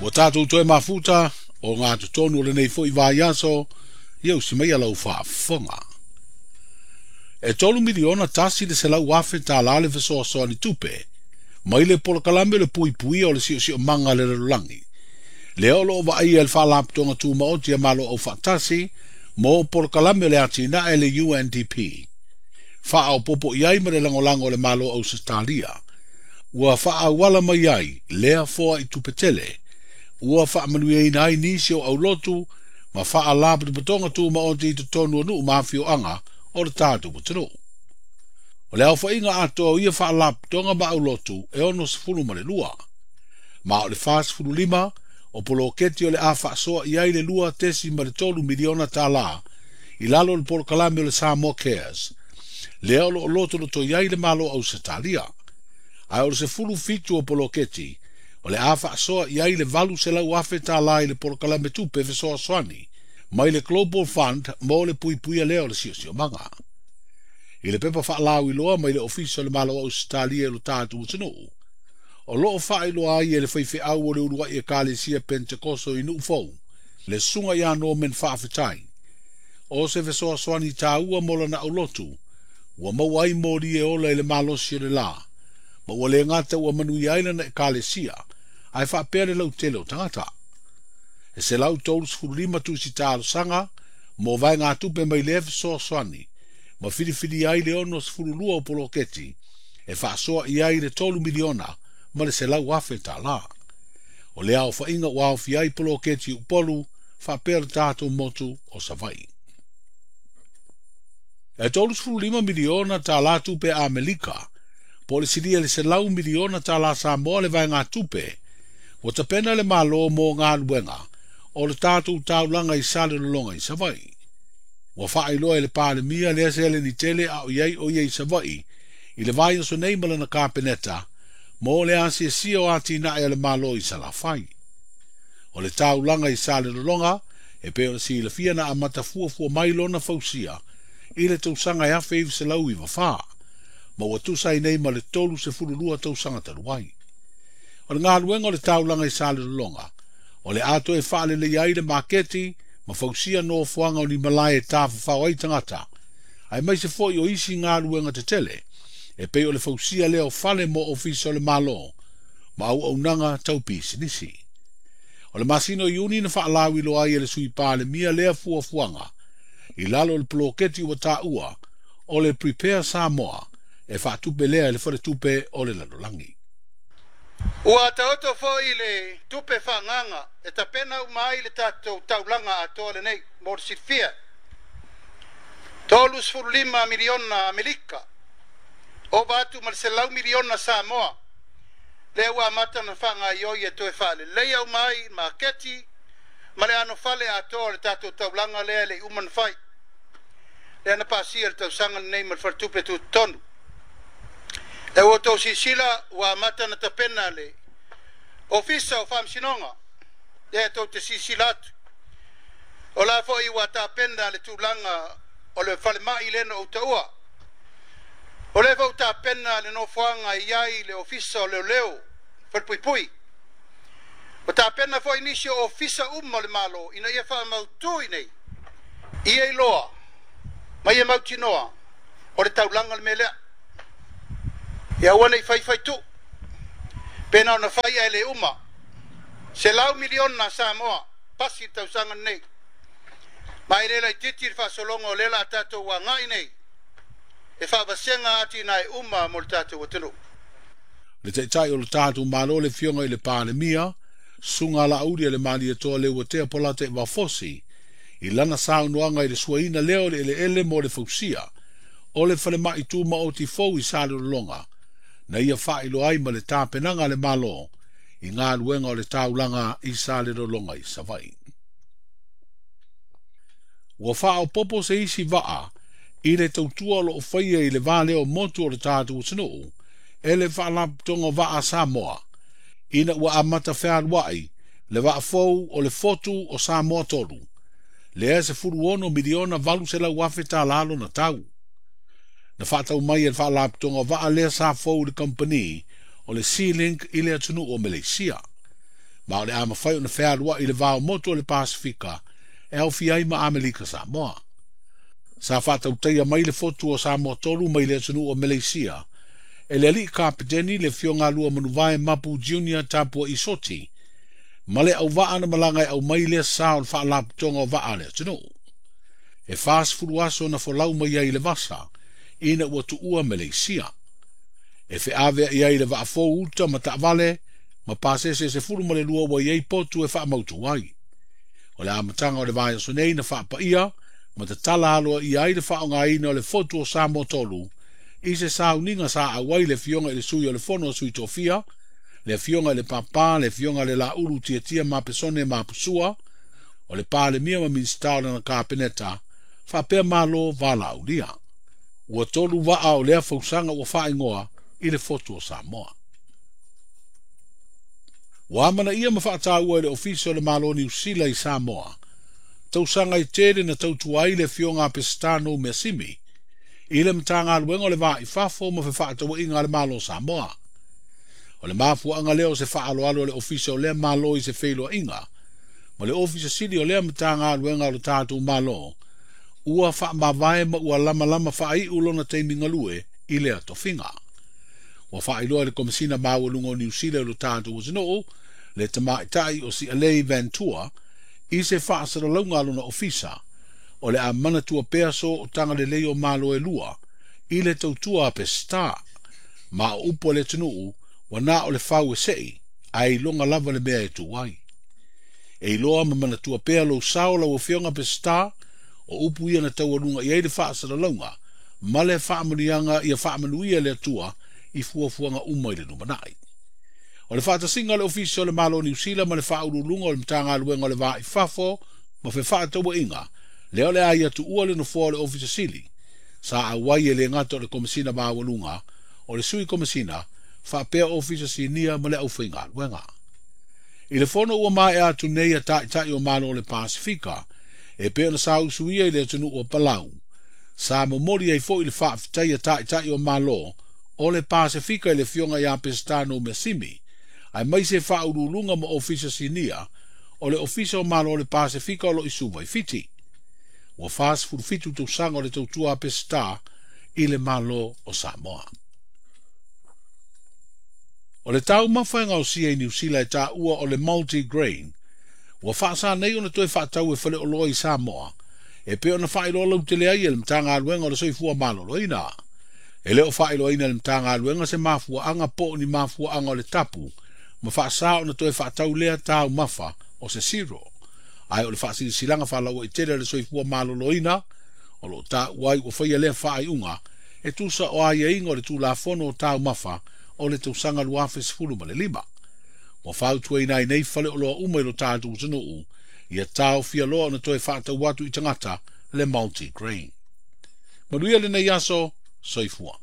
Ua tatou toe mafuta o gatotonu o lenei foi vaiaso, ia usi mai lau faafofoga. E $3,100,000 le fesoasoani tupe mai le polokalame o le puipuia o le siosiomaga a le lalolagi. Lea o loo vaaia e le Faalapotopotoga Tumaoti a Malo Aufaatasi mo polokalame o le atinae le UNDP. Faaopoopo i ai ma le lagolago o le Malo Ausetalia. Ua faaauala mai ai lea foai tupe tele. Ua faamanuiaina ai nisi o aulotu ma faalapotopotoga tumaoti i totonu o nuu ma afioaga o le tatou atunuu. O le aofaiga atoa o ia faalapotopotoga ma aulotu e 62. Ma o le 45 o poloketi o le a faasoa i ai le $2.3 miliona i lalo o le polokalame o le Samoa Cares. Lea o loo lotoloto i ai le Malo Ausetalia. Ae o le 17 o poloketi o le a faasoa i ai le $800,000 i le polokalame tupe fesoasoani mai le Global Fund mo le puipuia lea o le siosiomaga. I le pepa faalauiloa mai le Ofisa o le Malo Ausetalia i lo tatou atunuu, o loo faailoa ai e le faifeau o le uluai Ekalesia Pentekoso i Nuufou, le susuga ia Norman Faafetai, o se fesoasoani taua mo lana aulotu, ua maua ai moli e ola i le malosi o le la, ma ua le gata ua manuia ai lana ekalesia, ae faapea le lautele o tagata. E 135 tusi talosaga mo vaegatupe mai lea fesoasoani, ma filifilia ai le 62 o poloketi e faasoa i ai le $3,100,000. O le aofaiga ua aofia ai poloketi i Upolu faapea le tatou motu o Savaii. E $35 miliona tupe Amerika, po o le silia i le $100 miliona Samoa le vaegatupe, ua tapena le Malo mo galuega o le tatou taulaga i Salelologa i Savaii. Ua faailoa e le Palemia lea seleni tele a o i ai o ia i Savaii i le vaiaso nei ma lana kapeneta mo le asiasia o atinae a le Malo i Salafai. O le taulaga i Salelologa e pei ona silafia na amata fuafua mai lona fausia i le tausaga e 1994, ma ua tusa ai nei ma le 32 tausaga talu ai. O le galuega o le taulaga i Salelologa, o le a toe faaleleia ai le maketi ma fausia nofoaga o ni malae e tafafao ai tagata, aemaise foi o isi galuega tetele, e pei o le fausia lea o fale mo ofisa o le Malo ma auaunaga tau pisinisi. O le masina o Iuni na faalauiloa ai e le Sui Palemia lea fuafuaga i lalo o le poloketi ua taua o le Prepare Samoa e faatupe lea e le faletupe o le lalolagi. Ua taoto foi le tupe faaagaaga e tapena uma ai le tatou taulaga atoa lenei mo le silafia. $35 miliona Amerika, ova atu ma le $100 miliona Samoa, lea ua amata ona faagaoioi e toe faaleleia uma ai maketi ma le anofale atoa o le tatou taulaga lea e le i uma ona fai. Lea na pasia le tausaga lenei ma le faletupe tutotonu. E ua outou silasila ua amata ona tapena le Ofisa o Faamasinoga, lea tou te silasila atu. O la foi ua tapena le tulaga o le falemai lea na ou taua. O lea foi ua tapena le nofoaga e i ai le Ofisa o Leoleo, Falepuipui. Ua tapena foi nisi o ofisa uma o le Malo ina ia faamautu i nei, ia iloa ma ia mautinoa o le taulaga le mea lea. Ia aua ne i faifai tuu, pe na ona fai ae le uma. $100 miliona Samoa, pasi le tausaga lenei. Ma e le laitiiti le faasologa o lea o le a tatou agai nei e faavasega atinae uma mo le tatou atunuu. Le taitai o le tatou Malo le afioga i le Palemia, susuga Laauli a le Malietoa Leuatea Polataivao Fosi, i lana saunoaga i le suaina lea o le eleele mo le fausia o le falemai tumaoti fou i Salelologa, na ia faailoa ai ma le tapenaga a le Malo i galuega o le taulaga i Salelologa i Savaii. Ua faaopoopo se isi vaa i le tautua o loo faia i le va lea o motu o le tatou atunuu e le Faalapotopotoga o Vaa a Samoa, ina ua amata fealuai le vaa fou o le Fotu o Samoa 3, lea e $16,800,000 lona tau. Na faatau mai e le Faalapotopotoga o Vaa lea sa fou i le kamupani o le Sealink i le atunuu o Maleisia. Ma o le a mafai ona fealua'i i le va o motu o le Pasefika e aofia ai ma Amerika Samoa. Sa faatautaia mai le fotu o Samoa 3 mai le atunuu o Meleisia e le alii kapeteni le Afioga Lua Manuvae Mapu Junior Tapua'i Soti ma le auvaa na malaga e aumai lea sa o le faalapotopotoga o vaa a le atunuu. E 40 aso na folau mai ai i le vasa ina ua tuua Meleisia. E feaveai ai le vaafou uta ma taavale ma pasese 12 ua i ai potu e faamautu ai. O le amataga o le vaiaso nei na faapaia ma tatala aloaia ai le faaaogaina o le fotu o Samoa 3 i se sauniga sa auai le Afioga i le Sui o le Fono a Sui Tofia, le Afioga i le Papa, le Afioga i le Laulu Tiatia Mapesone Mapusua, o le Palemia ma Minisita o lana Kapeneta, faapea Malo valaaulia. Ua 3 vaa o lea fausaga ua faaigoa i le fotu o Samoa. Ua amanaia ma faataua e le Ofisa o le Malo o Niu Sila i Samoa, tausaga i tele na tautua ai le Afioga a Peseta Noumeasimi i le Matagaluega o le Va i Fafo ma Fefaatauaiga a le Malo o Samoa. O le mafuaaga lea o se faaaloalo a le Ofisa o lea Malo i se feiloaiga ma le Ofisa Sili o lea Matagaluega o le tatou Malo ua faamavae ma ua lamalama faaiu lona taimi galue i lea tofiga. Ua faailoa e le Komesina Maualuga o Niu Sila i lo tatou atunuu le tamaitai o Sialei Ventura i se faasalalauga a lona ofisa o le a manatua pea so o tagalelei o Malo e lua i le tautua a Peseta. Ma o upu a le atunuu ua na o le fau e sei ae iloga lava le mea e tu ai. E iloa ma manatua pea lou sao lau Afioga Peseta o upu ia na taualuga i ai le faasalalauga ma le faamanuiaga ia faamanuia le Atua i fuafuaga uma i le lumanai. O le faatasiga o le Ofisa o le Malo o Niu Sila ma le faauluuluga o le Matagaluega o le Va i Fafo ma Fefaatauaiga lea o le a ia tuua le nofoa o le Ofisa Sili sa auai e le gata o le Komesina Maualuga, o le Sui Komesina, faapea Ofisa Sinia ma le aufaigaluega. I le fono ua maea atu nei a taitai o Malo o le Pasefika e pei ona sausuia i le atunuu o Palau, sa momoli ai foi le faafetai a taitai o Malo o le Pasefika i le Afioga ia Peseta Noumeasimi, aemaise faauluuluga ma Ofisa Sinia o le Ofisa o Malo o le Pasefika o lo o i Suva i Fiti. Ua 47 tausaga o le tautua a Peseta i le Malo o Samoa. O le taumafa e gaosia i Niu Sila e taua o le multigrain, ua faasa nei ona toe faatau e faleoloa i Samoa, e pei ona faailoa lautele ai e le Matagaluega o le Soifua Maloloina. E le o faailoaina e le Matagaluega se mafuaaga po o ni mafuaaga o le tapu ma faasa ona toe faatau lea taumafa o se cereal. Ae o le faasilasilaga faalauaitele a le Soifua Maloloina o lo o taua ai ua faia lea faaiuga e tusa o aiaiga o le Tulafono o Taumafa o le tausaga 2015. Ua fautuaina ai nei faleoloa uma i lo tatou atunuu ia taofia loa ona toe faatau atu i tagata le multigrain. Manuia lenei aso, soifua.